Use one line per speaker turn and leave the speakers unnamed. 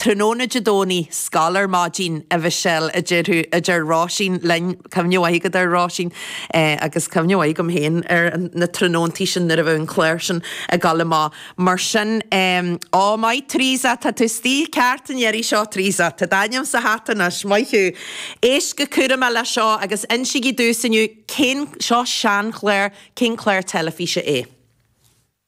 Tráthnóna Dé Domhnaigh, scoil ar maidin, a Mhichelle, a deir tú, a deir Róisín linn, cuimhne mhaith agat ar Róisín, agus cuimhne mhaith agam féin ar na tráthnóntaí sin nuair a bheadh an clár sin ag dul amach. Mar sin, ó, maith Teresa, tá tú istigh ceart an iarraidh seo, Teresa, tá d'ainm sa hata anois, maith thú. Éist go cúramach leis seo agus insígí domhsa inniu cén, seo seanchlár, cén clár teilifíse é?